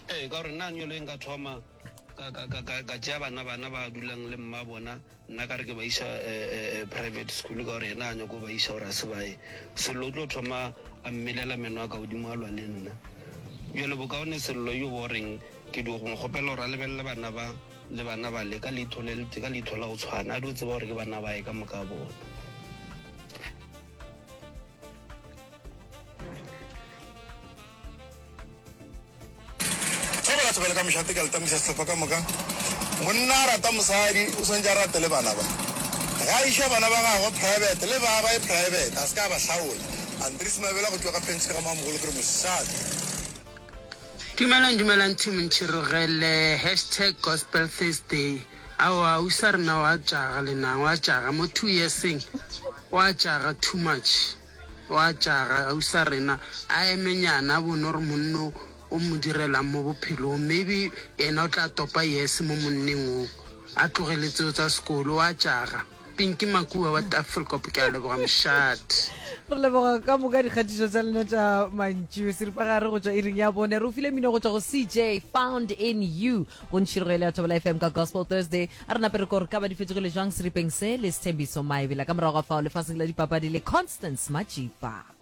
Ee, ka gore nna nyolo e nka thoma ka, ka, ka, ka, ka tšea bana bana ba dulang le mma bona, nna ka re ke ba iša eh, eh, eh, private school ka gore yena a nyako ba iša gore a se ba ye. Sello o tlo thoma a mmelela meno a ka godimo a lwa le nna. Bjale bokaone Sello yo bo reng ke dio go mo kgopela gore a lebelele bana ba le bana bale ka leitho le le ka leitho la go tshwana, a dio tseba gore ke bana bae ka moka bona. Thobela thobela ka mošate ka letamisa sehlopha ka moka. Monna a rata mosadi o swanetše a rate le bana ba. Ge a iša bana ba gagwe private le ba ba ye private a se ka a ba hlaola. Andries Mabela go tšwa ka Penske ga Mamogolo ke re mošate. Dumelang dumelang team Ntšhirogele hashtag gospel Thursday aowa ausa rena wa tšaga lenang wa tšaga mo two yearseng wa tšaga too much. Wa tšaga ausa rena a eme nyana a bone gore monno o mo direlang mo bophelong maybe yena o tla topa yes mo monneng o a tlogele tseo tsa sekolo wa tšaga Pinky Makua wa Tafelkop ke a leboga mošate. Re leboga ka moka dikgatišo tša lena tša mantšu seripagare go tšwa iring ya bone. Re o file mino go tšwa go CJ Found in You go ntšhirogo ele ya Thobela FM ka Gospel Thursday. A re nape re ko re ka ba di fetogile jwang seripeng se le Sthembiso Maebela ka morago ga fao lefaseng la dipapadi le Constance Majipa.